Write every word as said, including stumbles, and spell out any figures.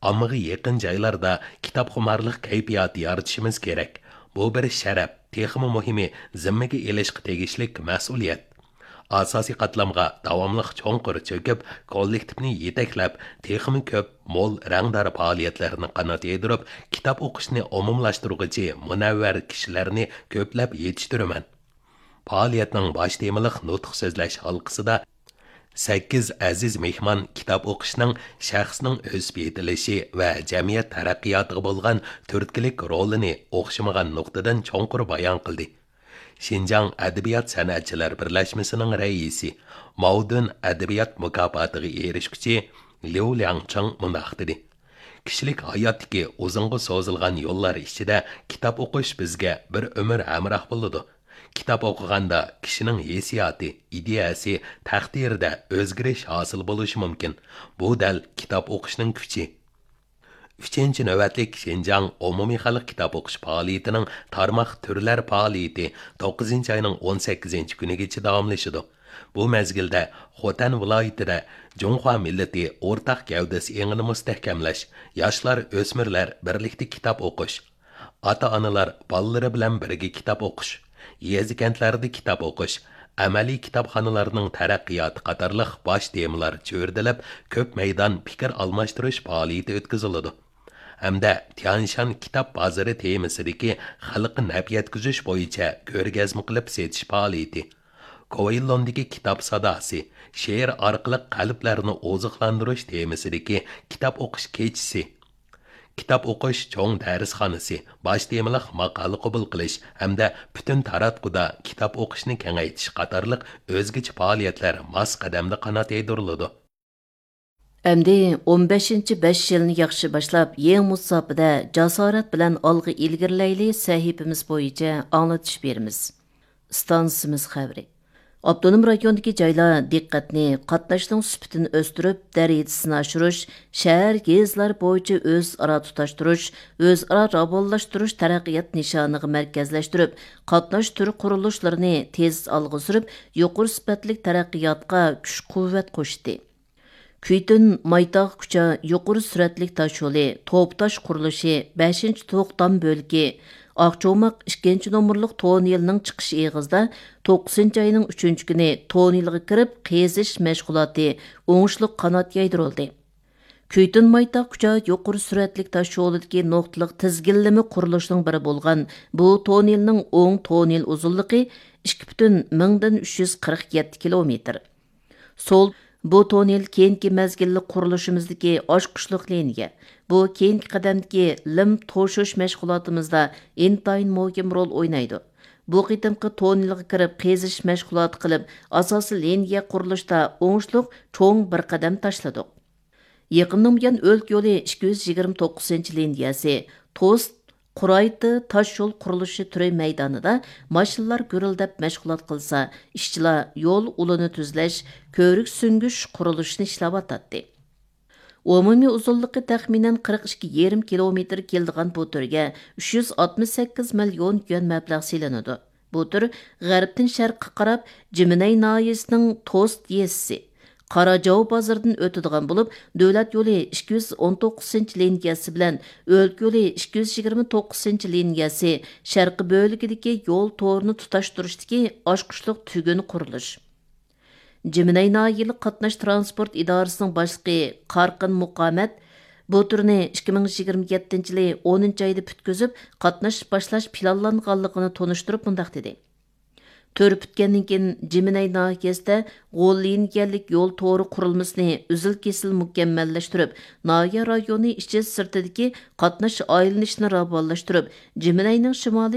ئاممىغا يېقىن جايلاردا كىتابخۇمارلىق كەيپىياتى يارىتىشىمىز كېرەك. بۇ بىر شەرەپ، تېخىمۇ مۇھىمى، زىممىگە ئېلىشقا تېگىشلىك مەسئۇلىيەت. ئاساسىي قاتلامغا داۋاملىق چوڭقۇر چۆكۈپ، كوللېكتىپنى يېتەكلەپ، تېخىمۇ كۆپ، مول، رەڭدار پائالىيەتلەرنى قانات يايدۇرۇپ، كىتاب ئوقۇشنى ئومۇملاشتۇرغۇچى مۇنەۋۋەر كىشىلەرنى كۆپلەپ يېتىشتۈرىمەن. پائالىيەتنىڭ باش تېمىلىق نۇتۇق سۆزلەش ھالقىسىدا سەككىز ئەزىز مېھمان كىتاب ئوقۇشنىڭ شەخسنىڭ ئۆسۈپ يېتىلىشى ۋە جەمئىيەت تەرەققىياتىغا بولغان تۈرتكىلىك رولىنى ئوخشىمىغان نۇقتىدىن چوڭقۇر بايان قىلدى. شىنجاڭ ئەدەبىيات سەنئەتچىلەر بىرلەشمىسىنىڭ رەئىسى ماۋدۈن ئەدەبىيات مۇكاپاتىغا ئېرىشكۈچى ليۇ لياڭچىڭ مۇنداق دېدى: كىشىلىك ھاياتتىكى ئۇزۇنغا سوزۇلغان يوللار ئىچىدە كىتاب ئوقۇش بىزگە بىر ئۆمۈر ھەمراھ بولىدۇ. كىتاب ئوقۇغاندا كىشىنىڭ ھېسسىياتى، ئىدىيەسى، تەقدىرىدە ئۆزگىرىش ھاسىل بولۇشى مۇمكىن. بۇ دەل كىتاب ئوقۇشنىڭ كۈچى. ئۈچىنچى نۆۋەتلىك شىنجاڭ ئومۇمىي خەلق كىتاب ئوقۇش پائالىيىتىنىڭ تارماق تۈرلەر پائالىيىتى توققۇزىنچى ئاينىڭ ئون سەككىزىنچى كۈنىگىچە داۋاملىشىدۇ. بۇ مەزگىلدە خوتەن ۋىلايىتىدە جۇڭخۇا مىللىتى ئورتاق گەۋدىسى ئېڭىنى مۇستەھكەملەش، ياشلار، ئۆسمۈرلەر بىرلىكتە كىتاب ئوقۇش، ئاتا-ئانىلار بالىلىرى بىلەن بىرگە كىتاب ئوقۇش، يېزا-كەنتلەردە كىتاب ئوقۇش، ئەمەلىي كىتابخانىلارنىڭ تەرەققىياتى قاتارلىق باش تېمىلار چۆرىدىلىپ، كۆپ مەيدان پىكىر ئالماشتۇرۇش پائالىيىتى ئۆتكۈزۈلىدۇ. ھەمدە تيانشان كىتاب بازىرى تېمىسىدىكى خەلققە نەپ يەتكۈزۈش بويىچە كۆرگەزمە قىلىپ سېتىش پائالىيىتى، كوۋېيلوندىكى كىتاب ساداسى، شېئىر ئارقىلىق قەلبلەرنى ئوزۇقلاندۇرۇش تېمىسىدىكى كىتاب ئوقۇش كېچىسى، كىتاب ئوقۇش چوڭ دەرسخانىسى، باش تېمىلىق ماقالە قوبۇل قىلىش ھەمدە پۈتۈن تاراتقۇدا كىتاب ئوقۇشنى كېڭەيتىش قاتارلىق ئۆزگىچە پائالىيەتلەر ماس قەدەمدە قانات يايدۇرۇلىدۇ. ئەمدى ئون بەشىنچى بەش يىلنى ياخشى باشلاپ، يېڭى مۇساپىدە جاسارەت بىلەن ئالغا ئىلگىرىلەيلى سەھىپىمىز بويىچە ئاڭلىتىش بېرىمىز. ئىستانسىمىز خەۋىرى. ئاپتونوم رايوندىكى جايلار دىققەتنى قاتناشنىڭ سۈپىتىنى ئۆستۈرۈپ، دەرىجىسىنى ئاشۇرۇش، شەھەر، يېزىلار بويىچە ئۆزئارا تۇتاشتۇرۇش، ئۆزئارا راۋانلاشتۇرۇش تەرەققىيات نىشانىغا مەركەزلەشتۈرۈپ، قاتناش تۈر قۇرۇلۇشلىرىنى تېز ئالغا سۈرۈپ، يۇقىرى سۈپەتلىك تەرەققىياتقا كۈچ-قۇۋۋەت قوشتى. كۈيتۈن مايتاغ كۇچا يۇقىرى سۈرئەتلىك تاشيولى، توپا تاش قۇرۇلۇشى، بەشىنچى توختام بۆلىكى، ئاقچوماق ئىككىنچى نومۇرلۇق توننېلنىڭ چىقىش ئېغىزىدا توققۇزىنچى ئاينىڭ ئۈچىنچى كۈنى توننېلغا كىرىپ قېزىش مەشغۇلاتى ئوڭۇشلۇق قانات يايدۇرۇلدى. كۈيتۈن مايتاغ كۇچا يۇقىرى سۈرئەتلىك تاشيولىدىكى نۇقتىلىق تىزگىنلىمە قۇرۇلۇشىنىڭ بىرى بولغان بۇ توننېلنىڭ ئوڭ توننېل ئۇزۇنلۇقى ئىككى پۈتۈن مىڭدىن ئۈچ يۈز قىرىق يەتتە كىلومېتىر. سول، بۇ توننېل كېيىنكى مەزگىللىك قۇرۇلۇشىمىزدىكى ئاچقۇچلۇق لىنىيە. بۇ كېيىنكى قەدەمدىكى لىم توشۇش مەشغۇلاتىمىزدا ئىنتايىن مۇھىم رول ئوينايدۇ. بۇ قېتىمقى توننېلغا كىرىپ قېزىش مەشغۇلاتى قىلىپ، ئاساسىي لىنىيە قۇرۇلۇشتا ئوڭۇشلۇق چوڭ بىر قەدەم تاشلىدۇق. يېقىندىن بۇيان ئۆلكە يولى ئىككى يۈز يىگىرمە توققۇزىنچى لىنىيەسى، توست، قۇرايتى تاش يول قۇرۇلۇشى تۈرى مەيدانىدا ماشىنىلار گۈرۈلدەپ مەشغۇلات قىلسا، ئىشچىلار يول ئۇلىنى تۈزلەش، كۆۋرۈك سۈڭگۈش قۇرۇلۇشىنى ئىشلەۋاتاتتى. ئومۇمىي ئۇزۇنلۇقى تەخمىنەن قىرىق ئىككى يېرىم كىلومېتىر كېلىدىغان بۇ تۈرگە ئۈچ يۈز ئاتمىش سەككىز مىليون يۈەن مەبلەغ سېلىنىدۇ. بۇ تۈر غەربتىن شەرققە قاراپ جىمىنەي ناھىيەسىنىڭ توست يېزىسى، قاراجاۋ بازىرىدىن ئۆتىدىغان بولۇپ، دۆلەت يولى ئىككى يۈز ئون توققۇزىنچى لىنىيەسى بىلەن ئۆلكە يولى ئىككى يۈز يىگىرمە توققۇزىنچى لىنىيەسى شەرقىي بۆلىكىدىكى يول تورىنى تۇتاشتۇرۇشتىكى ئاچقۇچلۇق تۈگۈن قۇرۇلۇش. جىمىنەي ناھىيەلىك قاتناش ترانسپورت ئىدارىسىنىڭ باشلىقى قارقىن مۇقامەت بۇ تۈرنى ئىككى مىڭ يىگىرمە يەتتىنچى يىلى ئونىنچى ئايدا پۈتكۈزۈپ، قاتناش باشلاش پىلانلانغانلىقىنى تونۇشتۇرۇپ مۇنداق دېدى: تۈر پۈتكەندىن كېيىن، جىمىنەي ناھىيەسىدە غول لىنىيەلىك يول تورى قۇرۇلمىسىنى ئۈزۈل-كېسىل مۇكەممەللەشتۈرۈپ، ناھىيە رايونى ئىچى سىرتىدىكى قاتناش ئايلىنىشىنى راۋانلاشتۇرۇپ، جىمىنەينىڭ شىمالىي